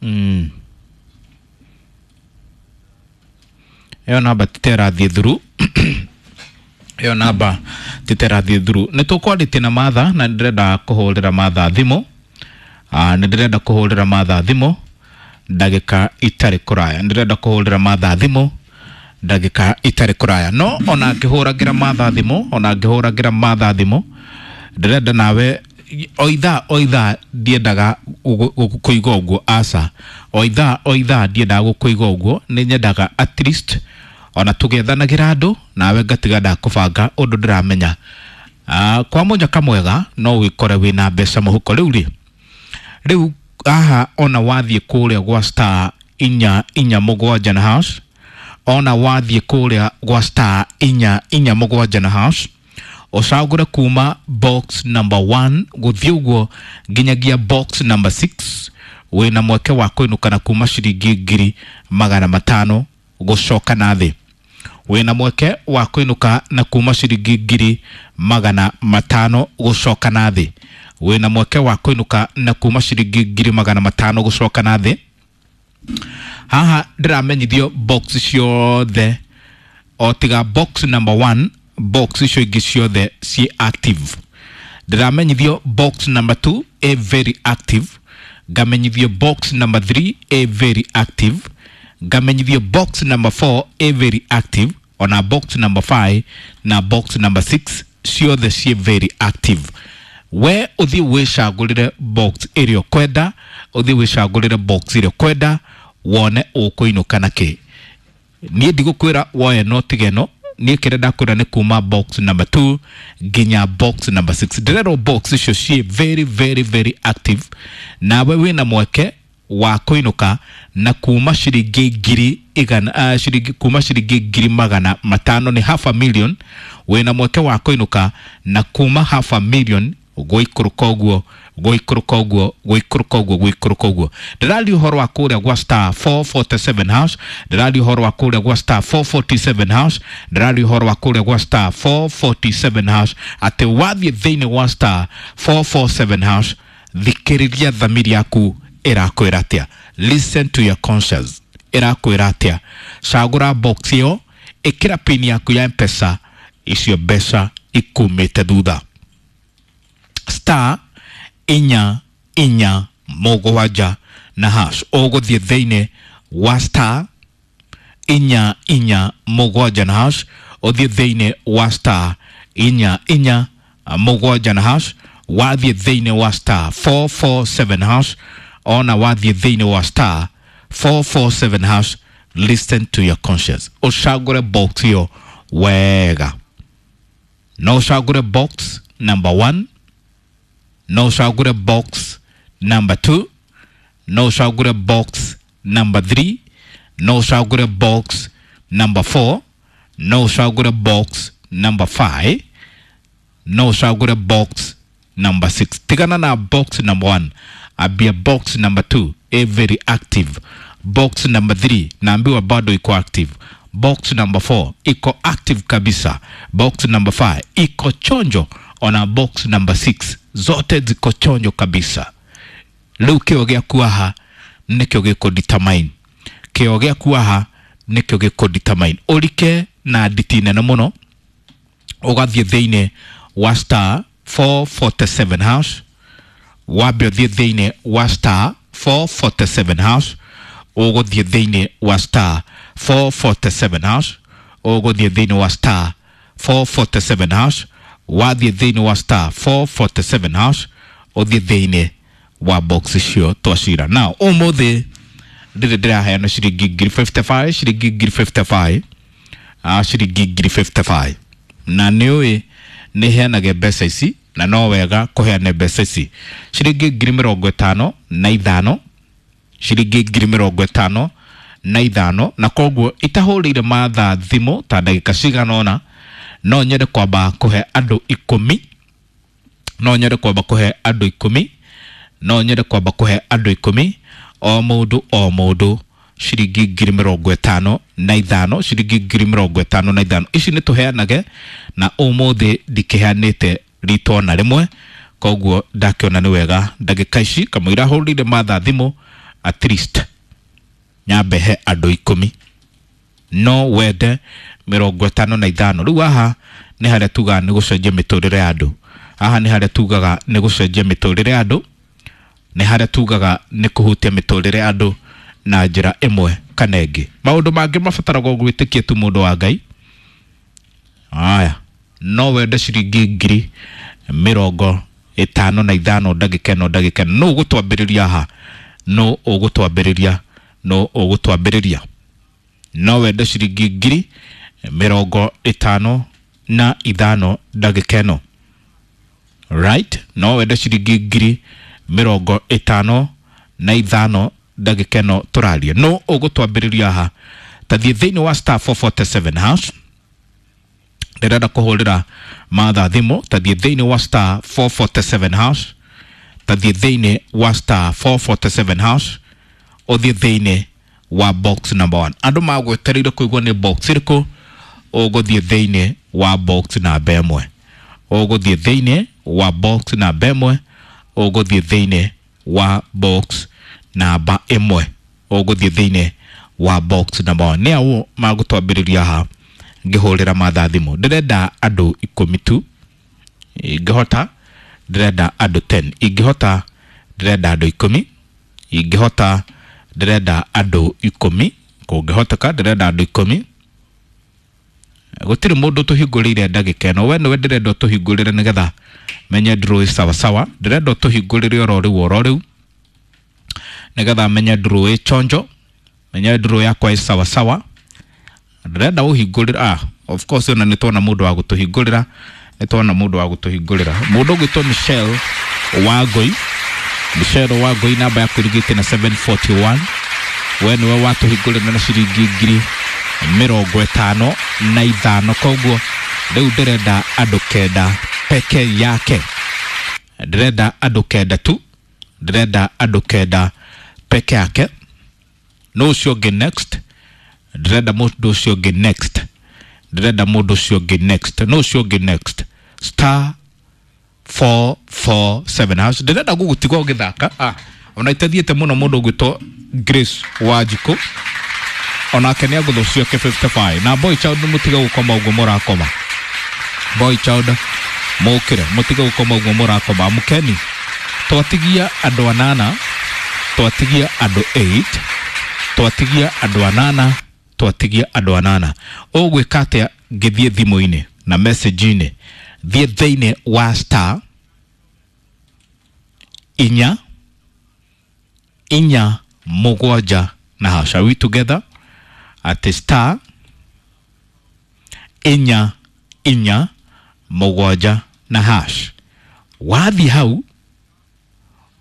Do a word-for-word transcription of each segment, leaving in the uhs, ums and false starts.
Mm. Ĩyo namba titerathiĩ through, ĩyo namba titerathiĩ through. Nĩ tũkwarĩtie na Martha na nĩ ndĩrenda kũhũrĩra Martha thimũ. Ah, nĩ ndĩrenda kũhũrĩra Martha thimũ ndagĩka itarĩ kũraya, nĩ ndĩrenda kũhũrĩra Martha thimũ ndagĩka itarĩ kũraya. No ona ngĩhũragĩra Martha thimũ, ona ngĩhũragĩra Martha thimũ, ndĩrenda nawe o ithaa o ithaa ndiendaga kũiga ũguo, aca, o ithaa o ithaa ndiendaga gũkũiga ũguo, nĩ nyendaga at least ona tũgĩethanagĩra andũ nawe ngatiga ndakũbanga ũndũ ndĩramenya. Ah, kwa mũnyaka mwega no wĩkore wĩna mbeca mũhuko. Rĩu rĩ, rĩu haha ona wathiĩ kũrĩa gwa star inya inya mũgwanja na hash, ona wathiĩ kũrĩa gwa star inya inya mũgwanja na hash, ũcagũre kuma box number one gũthiĩ ũguo nginyagia box number six, wĩna mweke wa kũinũka na kuma ciringi ngiri magana matano gũcoka na thĩ. Wĩna mweke wa kũinũka na kuma ciringi ngiri magana matano gũcoka na thĩ. Wĩna mweke wa kũinũka na kuma ciringi ngiri magana matano gũcoka na thĩ. Haha ndĩramenyithio box ciothe o tiga box number one, box icio ingĩ ciothe ciĩ active. Ndĩramenyithio box number two ĩ very active, ngamenyithio box number three ĩ very active, ngamenyithio box number four ĩ very active, ona box number five na box number six ciothe ciĩ very active. We ũthiĩ wĩcagũrĩre box ĩrĩa ũkwenda, ũthiĩ wĩcagũrĩre box ĩrĩa ũkwenda wone ũkũinũka na kĩ. Niĩ ndigũkwĩra woe no tiga ĩno, niĩ kĩrĩa ndakwĩra nĩ kuma box number two nginya box number six. Ndĩrerwo box icio ciĩ very very very active, nawe wĩna mweke wa kũinũka na kuma ciringi ngiri igana, uh, ciringi, kuma ciringi ngiri magana matano nĩ half a million. Wĩna mweke wa kũinũka na kuma half a million gũikũrũka ũguo, gũikũrũka ũguo, gũikũrũka ũguo, gũikũrũka ũguo. Ndĩraria ũhoro wa kũrĩa gwa star four forty-seven hash, ndĩraria ũhoro wa kũrĩa gwa star four forty-seven hash, ndĩraria ũhoro wa kũrĩa gwa star four forty-seven hash, atĩ wathiĩ thĩinĩ wa star four four seven hash, thikĩrĩria thamiri yaku ĩrakwĩra atĩa. Listen to your conscience ĩrakwĩra atĩa. Cagũra box ĩyo, ĩkĩra pin yaku ya M-Pesa, icio mbeca ikumĩte thutha. Star inya inya mũgwanja na hash, ũgũthiĩ thĩinĩ wa star inya inya mũgwanja na hash, ũthiĩ thĩinĩ wa star inya inya mũgwanja na hash, wathiĩ thĩinĩ wa star four four seven hash, ona wathiĩ thĩinĩ wa star four four seven hash, listen to your conscience. Ũcagũre box ĩyo wega. No ũcagũre box number one, no ũcagũre box number two, no ũcagũre box number three, no ũcagũre box number four, no ũcagũre box number five, no ũcagũre box number six. Tigana na box number one, ambia box number two, a very active. Box number three, naambiwa bado iko active. Box number four iko active kabisa. Box number five iko chonjo. Ona box number six zote ziko chonjo kabisa. Rĩu kĩo gĩaku haha nĩkĩo gĩkũ determine. Kĩo gĩaku haha nĩkĩo gĩkũ determine. Ũrike na nditi nene mũno, ũgathiĩ thĩinĩ wa star four forty-seven hash, wambe ũthiĩ thĩinĩ wa star four forty-seven hash, ũgũthiĩ thĩinĩ wa star four forty-seven hash, ũgũthiĩ thĩinĩ wa star four forty-seven hash, wathiĩ thĩinĩ wa star four forty-seven hash, ũthiĩ thĩinĩ wa box icio twacira. Now ũmũthĩ ndĩrĩ ndĩraheana ciringi ngiri fifty-five, ciringi ngiri fifty-five, ah, ciringi ngiri fifty-five. Na nĩũĩ nĩ heanage mbeca ici, na no wega kũheana mbeca ici. Ciringi ngiri mĩrongo ĩtano na ithano, ciringi ngiri mĩrongo ĩtano na ithano, na koguo itahũrĩire Martha thimũ ta ndagĩka cigana ũna, no nyende kwamba kũhe andũ ikũmi, no nyende kwamba kũhe andũ ikũmi, no nyende kwamba kũhe andũ ikũmi, o mũndũ o mũndũ ciringi ngiri mĩrongo ĩtano na ithano, ciringi ngiri mĩrongo ĩtano na ithano. Ici nĩ tũheanage, na ũmũthĩ ndikĩheanĩte ritwa na rĩmwe, koguo ndakĩona nĩ wega ndagĩka ici kamũira hũrĩire Martha thimũ At least nyambe he andũ ikũmi. No wende mĩrongo ĩtano na ithano. Rĩu haha nĩ harĩa tugaga nĩ gũcenjia mĩtũrĩre ya andũ. Haha nĩ harĩa tugaga nĩ gũcenjia mĩtũrĩre ya andũ, nĩ harĩa tugaga nĩ kũhutia mĩtũrĩre ya andũ na njĩra ĩmwe kana ĩngĩ. Maũndũ mangĩ mabataragwo gwĩtĩkia tu mũndũ wa Ngai. Aya, no wende ciringi ngiri mĩrongo ĩtano na ithano ndagĩka ĩno ndagĩka ĩno. Nũ ũgũtwambĩrĩria haha? Nũ ũgũtwambĩrĩria? Nũ ũgũtwambĩrĩria? No wende ciringi ngiri mĩrongo ĩtano na ithano ndagĩka ĩno. Right? No wende ciringi ngiri mĩrongo ĩtano na ithano ndagĩka ĩno tũraria. Nũ ũgũtwambĩrĩria haha? Tathiĩ thĩinĩ wa star four forty-seven hash. Ndĩrenda kũhũrĩra Martha thimũ. Tathiĩ thĩinĩ wa star four forty-seven hash. Tathiĩ thĩinĩ wa star four forty-seven hash. Ũthiĩ thĩinĩ wa box number one. Andũ magwetereire kũigua nĩ box ĩrĩkũ. Ũgũthiĩ thĩinĩ wa box namba ĩmwe. Ũgũthiĩ thĩinĩ wa box namba ĩmwe. Ũgũthiĩ thĩinĩ wa box namba ĩmwe. Ũgũthiĩ thĩinĩ wa box number one. Nĩ aũ magũtwambĩrĩria haha ngĩhũrĩra Martha thimũ? Ndĩrenda andũ ikũmi tu. Ingĩhota ndĩrenda andũ ten. Ingĩhota ndĩrenda andũ ikũmi. Ingĩhota ndĩrenda andũ ikũmi. Kũngĩhoteka ndĩrenda andũ ikũmi. Gũtirĩ mũndũ tũhingũrĩire ndagĩka ĩno. We nĩwe ndĩrenda ũtũhingũrĩre nĩgetha menye ndũrũĩ sawasawa. Ndĩrenda ũtũhingũrĩre oro rĩu oro rĩu nĩgetha menye ndũrũĩ chonjo, menye ndũrũĩ yakwa ĩ sawasawa. Ndĩrenda ũhingũrĩre. Ah, of course ona nĩ tuona mũndũ wa gũtũhingũrĩra, nĩ tuona mũndũ wa gũtũhingũrĩra. Mũndũ ũgwĩtwo Michelle Wangũi. Michelle Wangũi, namba yaku ĩrigĩte na seven forty-one. We nĩwe watũhingũrĩra na ciringi ngiri mĩrongo ĩtano na ithano. Koguo rĩu ndĩrenda andũ kenda peke yake. Ndĩrenda andũ kenda tu. Ndĩrenda andũ kenda peke yake. No ũcio ũngĩ next. Ndĩrenda mũndũ ũcio ũngĩ next. Ndĩrenda mũndũ ũcio ũngĩ next. No ũcio ũngĩ next. Star four four seven hash. Ndĩrenda gũgũtiga ũgĩthaka. Ah, ona itathiĩte mũno mũndũ ũgwĩtwo Grace Wanjikũ. Onake nĩ agũthwo ciake fifty-five. Na boy child mũtige gũkoma ũguo mũrakoma. Boy child mũkĩre, mũtige gũkoma ũguo mũrakoma. Amũkeni. Twatigia andũ anana, twatigia andũ eight, twatigia andũ anana, twatigia andũ anana. Ũgwĩka atĩa ngĩthiĩ thimũ-inĩ na message-inĩ? Thiĩ thĩinĩ wa star inya inya mũgwanja na hash. Are we together? At star inya inya mũgwanja na hash. Wathiĩ hau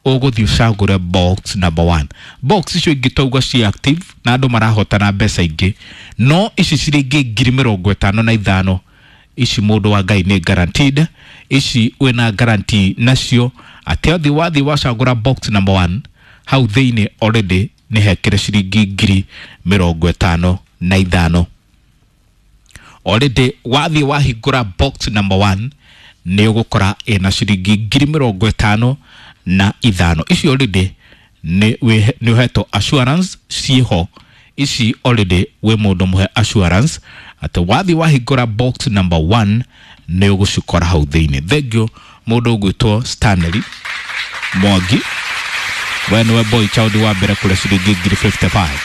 ũgũthiĩ ũcagũre box number one. Box icio ingĩ twauga ci active na andũ marahotana mbeca ingĩ, no ici ciringi ngiri mĩrongo ĩtano na ithano ici mũndũ wa Ngai nĩ guaranteed. Ici wĩna guarantee nacio atĩ athiĩ wathiĩ wacagũra box number one hau thĩinĩ already nĩ hekĩre ciringi ngiri mĩrongo ĩtano na ithano. Already wathiĩ wahingũra box number one nĩ ũgũkora ĩna ciringi ngiri mĩrongo ĩtano na ithano. Ici already nĩ nĩ ũhetwo assurance ciĩho. Ici already wĩ mũndũ mũhe assurance atĩ wathiĩ wahingũra box number one nĩ ũgũcikora hau thĩinĩ. Thengiũ mũndũ ũgwĩtwo Stanley Mwangi, we nĩwe boy child wa mbere kũrĩa ciringi ngiri fifty-five.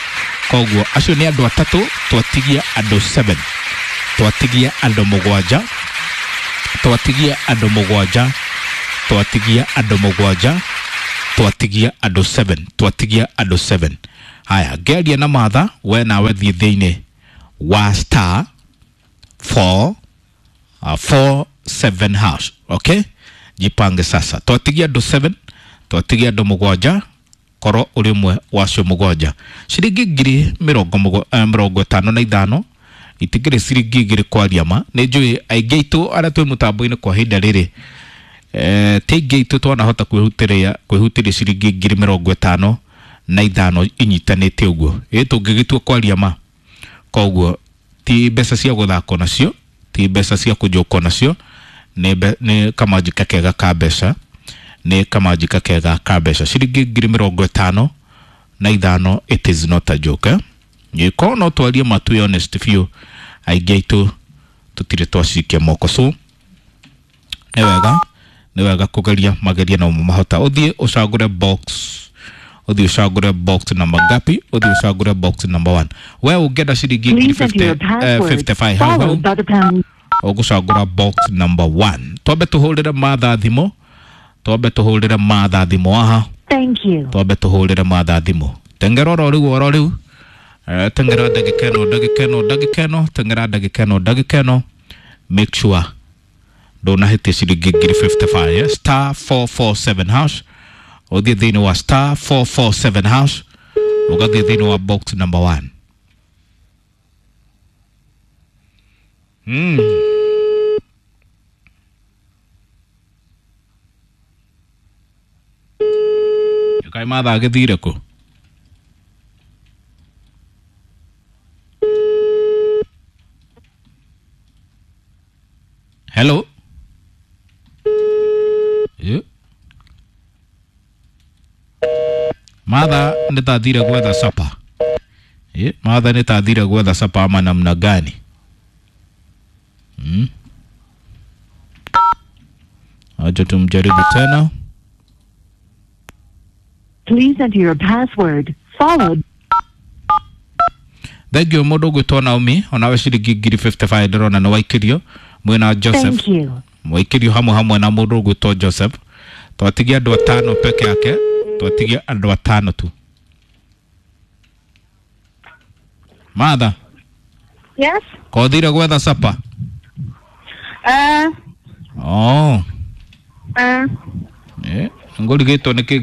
Koguo acio nĩ andũ atatũ, twatigia andũ seven, twatigia andũ mũgwanja, twatigia andũ mũgwanja, twatigia andũ mũgwanja, twatigia andũ seven, twatigia andũ seven. Haya, ngeria na Martha, we nawe thiĩ thĩinĩ wa star four, uh, four seven hash. Okay, jipange sasa. Twatigia andũ seven, twatigia andũ mũgwanja, korwo ũrĩ ũmwe wacio mũgwanja. Ciringi ngiri mĩrongo mũgwa-, eh, mĩrongo ĩtano na ithano itingĩrĩ ciringi igĩrĩ kwaria ma. Nĩ njũĩ aingĩ aitũ arĩa twĩ mũtambo-inĩ kwa ihinda rĩrĩ, eh, ti aingĩ aitũ twanahota kwĩhutĩria, kwĩhutĩria ciringi ngiri mĩrongo ĩtano na ithano inyitanĩte ũguo. Ĩ tũngĩgĩtua kwaria ma. Koguo ti mbeca cia gũthakwo nacio, ti mbeca cia kũnjũkwo nacio, nĩ mbe-, nĩ kamanjika kega ka mbeca, nĩ kamanjika kega ka mbeca. Ciringi ngiri mĩrongo ĩtano na ithano. It is not a joke, eh? Gĩko no twarie matu honest biũ, aingĩ aitũ tũtirĩ twacikia moko, so nĩ wega nĩ wega kũgeria mageria no mahota. Ũthiĩ ũcagũre box, ũthiĩ ũcagũre box number ngapi? Ũthiĩ ũcagũre box number one. We ũngĩenda ciringi ngiri Please enter your password fifty five hau hau followed by the pound. Ũgũcagũra box number one. Twambe tũhũrĩre Matha thimũ, twambe tũhũrĩre Matha thimũ aha. Thank you. Twambe tũhũrĩre Matha thimũ. Tengera oro rĩu, oro rĩu. Eh, tengera ndagĩka ĩno, ndagĩka ĩno, ndagĩka ĩno, tengera ndagĩka ĩno, ndagĩka ĩno. Make sure ndũnahĩtia ciringi ngiri fifty five, eh? Star four four seven hash. Ũthiĩ thĩinĩ wa star four four seven hash, ũgathiĩ thĩinĩ wa box number one. Mm. Kaĩ Matha agĩthire kũ? Hello. Yeah. Matha nĩ tathire gwetha sapa. Yeah. Matha nĩ tathire gwetha sapa ama namna gani? Mm. Acha tumjaribu tena. Please enter your password followed Thank you mũndũ ũgwĩtwo Naomi, onawe ciringi ngiri fifty five ndĩrona nĩ waikĩrio mwĩna Joseph. Thank you. Mwaikĩrio hamwe hamwe na mũndũ ũgwĩtwo Joseph. Twatigia andũ atano peke yake, twatigia andũ atano tu. Matha. Yes. Kothire gwetha sapa? Eh. Oh. Eh. Eh, ngũrigĩtwo nĩkĩ?